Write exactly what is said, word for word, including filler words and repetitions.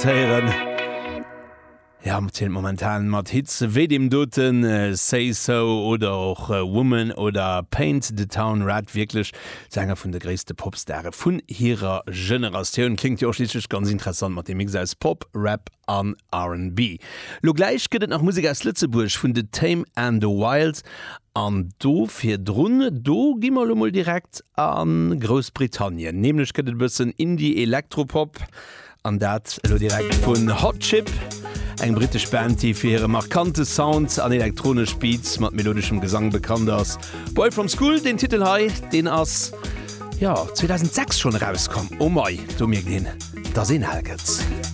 Héieren. Ja, zielt momentan mat Hits wéi deem doten äh, Say So oder och äh, Woman oder Paint the Town Red wierklech zu enger vun de gréisste Popstare vun hirer Generatioun. Kléngt jo och schliisslech ganz interessant mat dem Mix aus Pop, Rap an R and B. Lo gläich gëtt et nach Musek aus Lëtzebuerg vun The Tame and the Wild an do virdrun do gi mer lo mol direkt a Groussbritannien. Nämlech gëtt et e bëssen Indie Elektropop an dat lo direkt vun Hot Chip, eng brittesch Band, déi fir hire markante Sound an elektronesch Beats mat melodeschem Gesang bekannt ass. Boy from School, den Titel hei, deen ass ja zweedausendsechs schonn erauskomm. Oh mei, do mierkt een, dass een al gëtt.